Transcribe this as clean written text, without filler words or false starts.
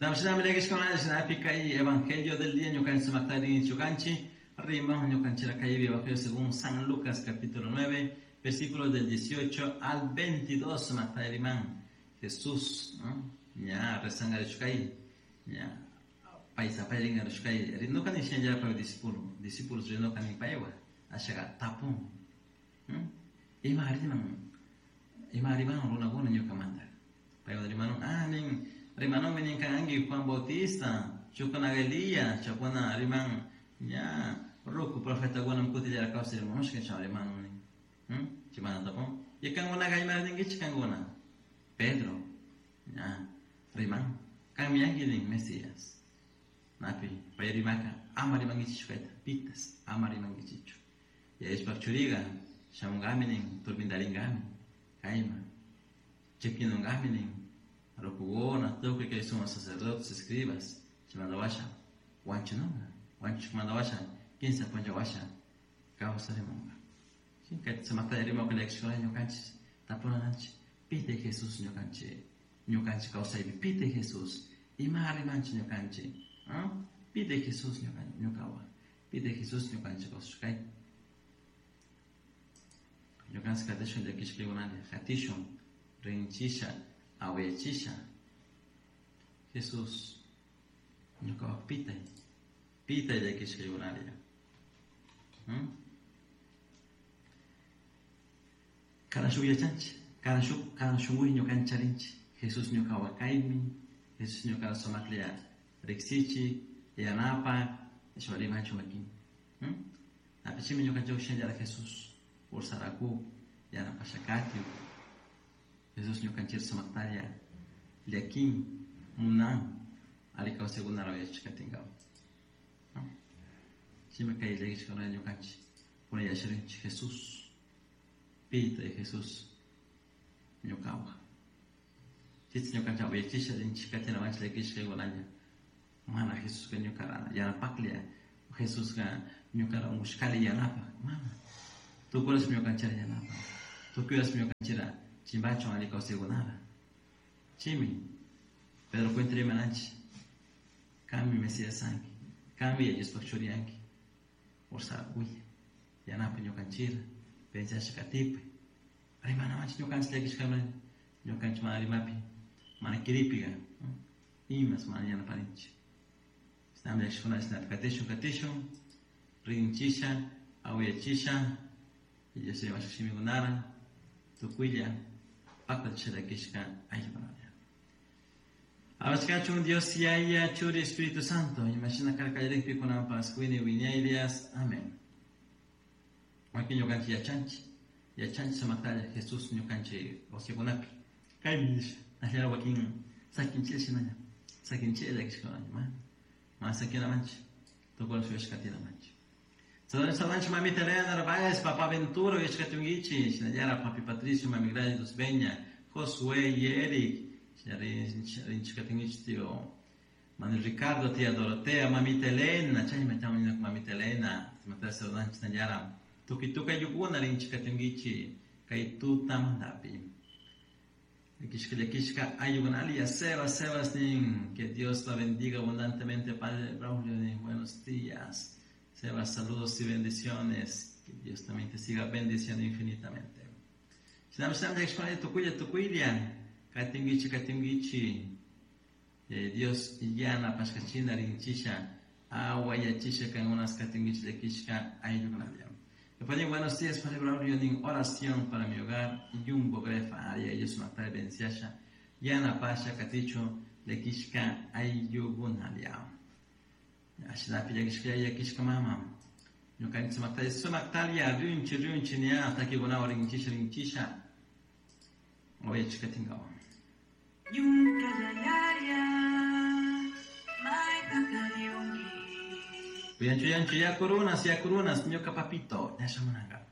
Kay Evangelio del día ñukanchik sumakta ñukanchik riman ñukanchik kay Evangelio según San Lucas capítulo 9 versículos del 18 al 22 sumakta riman Jesús, ¿no? Ña rezangarishkay ña paysapayringarishkay rinukani shinallapa discípulo discípulos rinukani paywa ashaga tapun ima riman ima riman runakuna ñukamanta paywa rimanun nin rimanunmi nin kanki Juan Bautista chukuna Elías chukuna riman ña ruku profetakuna kutillara kawsarimushka chay rimanun nin chaymanta tapun y kankunaqa ima rinkichik kankuna Pedro ña riman kanmi yanki nin Mesías napi pay rimaka ama rimankichikchu kayta pitas ama rimankichikchu Yayashpak churiga shamunkami nin turpintarinkami kayman chipkinunkami nin rukukuna tukuy kay sumos sacerdotes escribas chaymanta washa wanchinunka wanchishkamanta washa kinsa puncha washa kawsarimunka kayta sumakta rimakun llakishkuna ñukanchik tapunanchik pitay Jesús ñukanchik ñukanchik kawsaypi pitay Jesús ima rimanchik ñukanchik pitay Jesús ñukawan pitay Jesús ñukanchik kawsashkay ñukanchik katishun llakishkaykunalla katishun rinchisha awayachisha Jesús ñukapak pitay pitay llakishkaykunalla Cada shuk yachanchik cada shuk cada shunkuy ñukanchik charinchik Jesús ñukawan kaymi Jesús ñuka sumaklla riksichik yanapak nishpa rimanchik wakin Apichimi ñukanchik shinallara Jesús ursaraku yanapashakatiw Jesús ñukanchik sumaktalla llakin munan alli kawsaykunata yachashkatinkawan Chaymi kay llakishkuna ñukanchik kunan yachasharinchik Jesús pitay Jesús ñukawan chayta ñukanchik awayachisha rinchik katinawanchik llakishkaykunalla mana Jesusqa ñukara yanapaklla Jesusqa ñukara unkushkalla yanapak mana tukuy ñukanchikta yanapan tukuy ñukanchikta chimpachun alli kawsaykunata chaymi Pedro cuenta rimananchik kanmi Mesías kanki kanmi Diospaq churi kanki ursarakuy yanapay ñukanchikta pensasha katipay rimanawanchik ñukanchik llakishkama ñukanchik mana rimapi mana kiripika imas mana yanaparinchik chishnami llakishkuna chashnapi katishun katishun rinchisha awayachisha Dios rimashka shimikunara tukuylla paktachisha llakishka ayllukunalla Alabashkachun Dios Yaya Churi Espíritu Santo imashina karka kallarikpi kunanpas wiñay wiñaylias amén wakin ñukanchik yachanchik yachanchik sumaktalla Jesús ñukanchik kawsaykunapi kaymi nisha ashalla wakin sakinchik shinalla sakinchik llakishkunalla mana mana sakinamanchik tukuy shuyashka katinamanchik Saludos mamita Elena Narváez, papá Ventura, uyashkatunkichik, shinallara papi Patricio, mami Gladys Beña, Josué y Eric, rinchikatinkichik tío Manuel Ricardo, tía Dorotea, mamita Elena, chaymi mamita Elena, saludanchik shinallara tukuy tukuy ayllukuna rinchikatinkichik kay tutamantapi. Llakishka llakishka ayllukunalla Sebas, Sebas nin, que Dios la bendiga abundantemente, Padre Braulio nin, buenos días. Sebas, saludos y bendiciones. Que Dios también te siga bendiciendo infinitamente. Shinami shinami llakishkuna tukuylla tukuylla katinkichik katinkichik Dios yanapashkachina rinchisha awayachisha kankunas katinkichik llakishka ayllukunalla. Padre, buenos días, Padre Braulio, nin oración para mi hogar, Jumbo Grefa, aria ellos sumakta bendiciasha, yanapasha katichu llakishka ayllukunalla. Ashinapi llakishka llakishka mama. Ñukanchik sumakta sumaktalla rinchi rinchi ña takikunawan rinchisha rinchisha awayachikatinkawan. Ñuka yaya mayta kariunki Yanchu yanchu yakurunas yakurunas ñuka papito ña shamunanka.